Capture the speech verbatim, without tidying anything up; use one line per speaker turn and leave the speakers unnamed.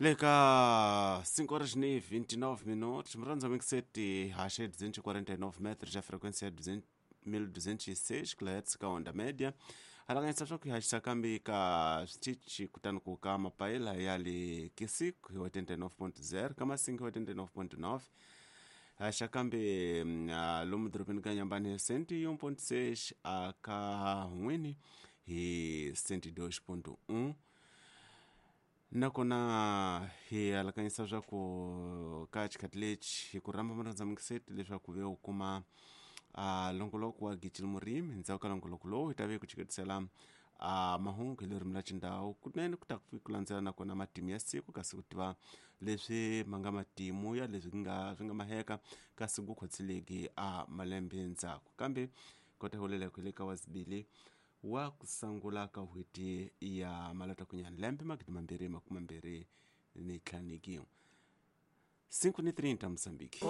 Le ka cinco horas ni vinte e nove minutos, murandza mixeti haxe duzentos e quarenta e nove metros, a frequência é mil duzentos e seis kilohertz ka onda média. Halanganyisa swa ku hi haxisa kambe ka switichi kutani ku ka mapayila ya le Kisiku hi oitenta e nove ponto zero, ka Masinga hi oitenta e nove ponto nove, haxa kambe lomu dorobeni ka Nyambani hi cento e um ponto seis, a ka N'wini hi cento e dois ponto um. Nakona hi alakanyisa swa ku ka xikhathi lexi hi ku rhamba murhandza mixeti leswaku ve u kuma a longoloko wa Gijil Murimi. Ndzhaku ka longoloko lowu hi ta ve ku chiketisela a mahungu hi ririmi ra xindhawu, kunene ku ta ku landzela nakona matimu ya siku, kasi ku tiva leswi ma nga matimu ya leswi nga swi nga maheka kasi ku khotseleki a malembe ndzhaku. Kambe kota hulela ku le ka wazibili wa ku sungula ka n'hweti ya malatakunyana lembe magidi mambirhi makume mambirhi ni ntlhanu ni cinco ni trinta Moçambique.